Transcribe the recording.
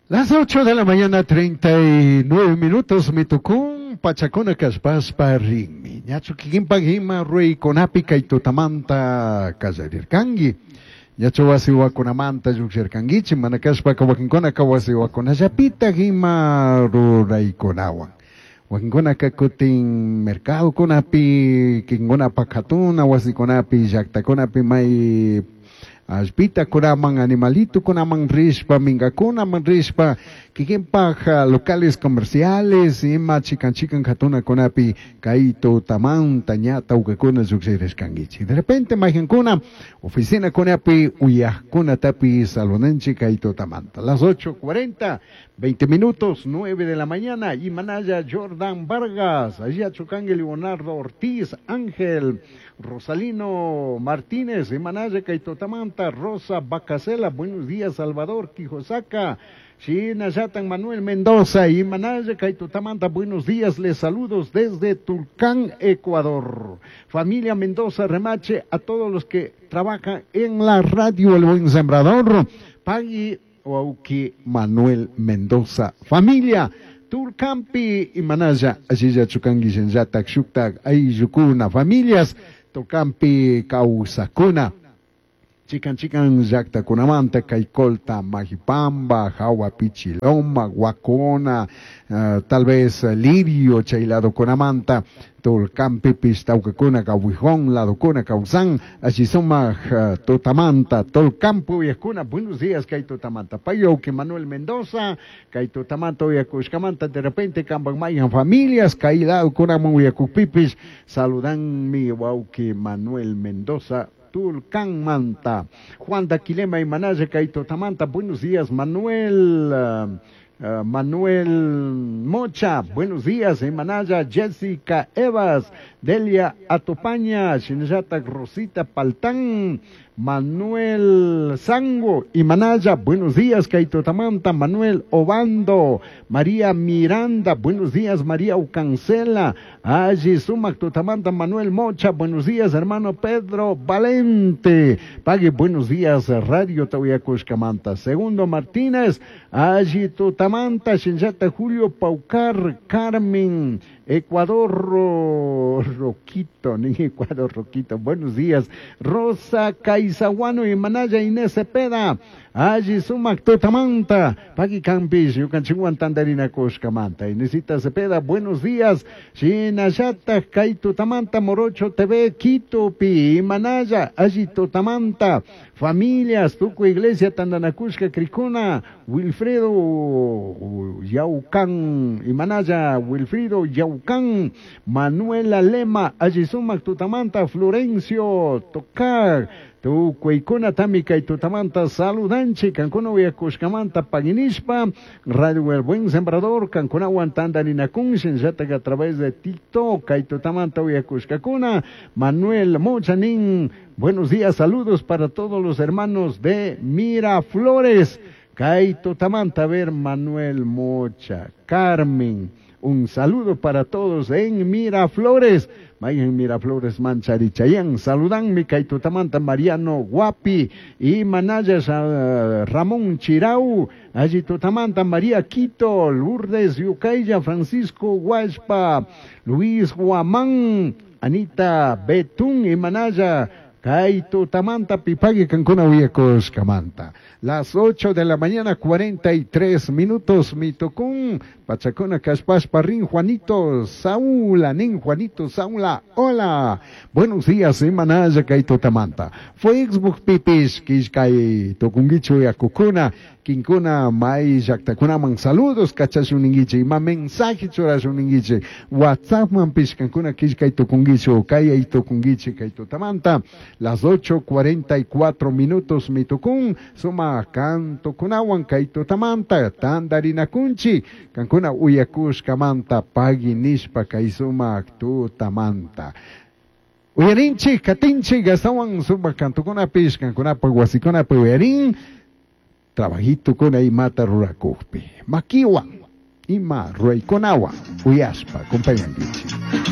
Las 8 de la mañana, 39 minutos, mitucún, pachacuna kashpashpa rinmi. Ñachu kikinpak ima ruraykunapi kay tutamanta kallarirkanki. Ñachu wasi wakunamanta llukshirkankichik, mana kashpaka wakinkunaka wasi wakunallapitak ima ruraykunawan. Wakinkunaka kutin mercadokunapi, kikinkunapak katuna wasikunapi, llaktakunapi may allpitakunaman, animalitukunaman rishpa, minkakunaman rishpa, kikinpak locales comerciales, ima chikan chikan katunakunapi kay tutamanta ña tawkakuna llukshirishkankichik. De repente mayqankuna oficinakunapi uyaqkunatapi saludanchik kay tutamanta. Las 8:40, 20 minutos, 9 de la mañana, Imanaya Jordan Vargas, allá Chucangue Leonardo Ortiz, Ángel, Rosalino Martínez, Imanaya kay tutamanta, Rosa Bacasela, buenos días, Salvador Quijosaca, Shinayatan Manuel Mendoza, Imanaya kay tutamanta, buenos días, les saludos desde Tulcán, Ecuador. Familia Mendoza Remache, a todos los que trabajan en la radio El Buen Sembrador, Pagui Wauki Manuel Mendoza, familia Tulcampi y Manaya, allí Chucangui, Shenyatak, Shuktak, Ayukuna, familias Tulcampi, Causacuna. Chican chican llaqtakunamanta Caycolta, Majipamba, Jawa Pichiloma, Huacona, tal vez Lirio, chay ladokunamanta, Tulcampipis, Taucacuna, Cahuijón, ladokuna, Causán, Achisumaq, Tutamanta, Tulcampo, Uyakuna, buenos días, kay Tutamanta, Payauki Manuel Mendoza, kay Tutamanta, Uyakushkamanta, de repente, Kamban familias, kay ladokunaman Uyakupipis, saludan mi wauki Manuel Mendoza, Tulcán Manta, Juan Daquilema y Manaya Kaito Tamanta, buenos días Manuel, Manuel Mocha, buenos días, Manaya, Jessica Evas, Delia Atopaña, Shinayata Rosita Paltán, Manuel Sango y Manaya, buenos días, Kaito Tamanta, Manuel Obando, María Miranda, buenos días, María Ucancela, Allí Sumac Tutamanta, Manuel Mocha, buenos días, hermano Pedro Valente, Pague, buenos días, Radio Tahuiacushcamanta, Segundo Martínez, Allí Tutamanta, Shinjata Julio Paucar, Carmen, Ecuador Roquito, ni Ecuador Roquito, buenos días, Rosa Caizaguano y Manaya Inés Cepeda, Allí Sumac Tutamanta, Paqui Campis, Yucanchihuan Tandarina Coscamanta, Inesita Cepeda, buenos días, Shinayata, Kay Tutamanta, Morocho TV, Quito, Pi, Manaya, Allí Tutamanta, familias, Tuco Iglesia, Tandanacushka, Cricuna, Wilfredo Yaucán, y Manaya, Wilfrido Yaucán, Manuela Lema, Allí Sumac Tutamanta, Florencio Tocar, Tucuicuna Tamika y Tutamanta, saludanchi, Cancuna Uyacushcamanta, Paguinishpa, Radio El Buen Sembrador, Cancuna Guantandarinacun, Shinjataga a través de TikTok, y Tutamanta Uyacushcacuna, Manuel Mochanín, buenos días, saludos para todos los hermanos de Miraflores, Kaito Tamanta, a ver, Manuel Mocha, Carmen, un saludo para todos en Miraflores. Vayan Miraflores, Mancharichayán. Saludan mi Kaitutamanta, Mariano Guapi y Manayas, Ramón Chirau, allí Tutamanta, María Quito, Lourdes Yucaya, Francisco Huaspa, Luis Guamán, Anita Betún y Manaya, Kaitutamanta, Pipagui, Cancuna, Uyacos, Camanta. Las 8 de la mañana, 43 minutos, Mitocún, Pachacona, Caspás, Parrín, Juanito, Saúl, Anín, Juanito, Saúl, hola. Buenos días, Manaya, Kaitutamanta. Facebook, Pipis, Kishkay, Tocunguicho, Yacucuna, Quincuna, May, Yactacunaman, saludos, Cachasuninguiche, ima mensaje churasuninguiche, WhatsApp, man, Pishcancuna, Kishkay, Tocunguicho, Kaya, Tocunguiche, Kaitutamanta. Las 8:44 minutos, Mitocún, suma canto kunawan kaitutamanta, tandarinakunchi, kankuna uyakushkamanta, pagui nishpa kaisumak tutamanta. Uyarinchi, katinchi, gastawan suma kantukunapish, kankunapa wasikunapi uyarin, trabajito kuna imata rurakukpi. Makiwan, ima ruraykunawan, uyashpa, compañankichi.